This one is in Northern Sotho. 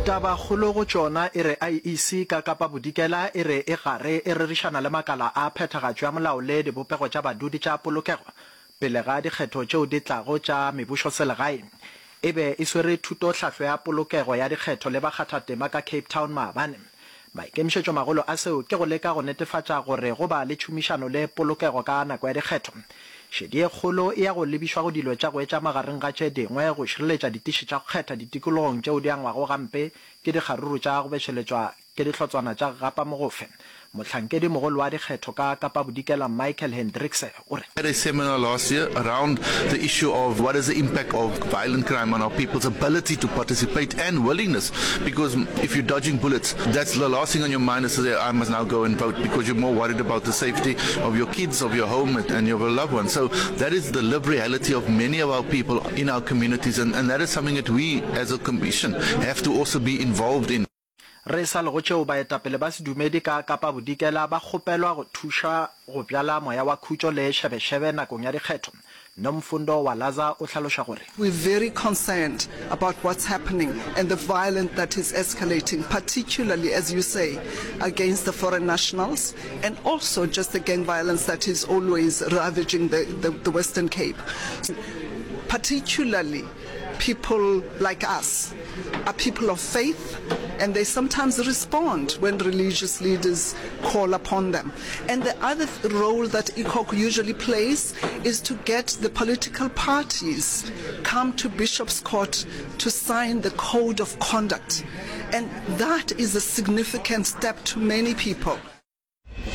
Tabakgolo go tšona e re IEC ka Kapa Bodikela e re e gare e rerišana le makala a phethagatšo ya molao le dibopego tša badudi tša polokego pele ga dikgetho tšeo di tlago tša mebušoselegae. E be e swere thutohlahlo ya polokego ya dikgetho le bakgathatema ka Cape Town maabane. Maikemišetšomagolo a seo ke go leka go netefatša gore go ba le tšhomišano le polokego ka nako ya dikgetho. Šedi ye kgolo e ya go lebišwa go dilo tša go etša magareng ga tše dingwe go šireletša ditiši tša go kgetha ditikologong tšeo di angwago gampe ke dikgaruru tša go bešeletšwa ke dihlotswana tša gapa mogofe. Mohlankedi mogolo wa dikgetho ka Kapa Bodikela Michael Hendrickse o re. Had a seminar last year around the issue of what is the impact of violent crime on our people's ability to participate and willingness, because if you're dodging bullets, that's the last thing on your mind is to say I must now go and vote, because you're more worried about the safety of your kids, of your home and your loved ones. So that is the lived reality of many of our people in our communities, and, and that is something that we as a commission have to also be involved in. Re sa le go tšeo, baetapele ba sedumedi ka Kapa Bodikela ba kgopelwa go thuša go bjala moya wa khutšo le šebešebe nakong ya dikgetho. Nomfundo Walaza o hlaloša gore. We're very concerned about what's happening and the violence that is escalating, particularly, as you say, against the foreign nationals and also just the gang violence that is always ravaging the, the, the Western Cape. Particularly people like us are people of faith and they sometimes respond when religious leaders call upon them. And the other role that ECOC usually plays is to get the political parties come to Bishop's Court to sign the code of conduct. And that is a significant step to many people.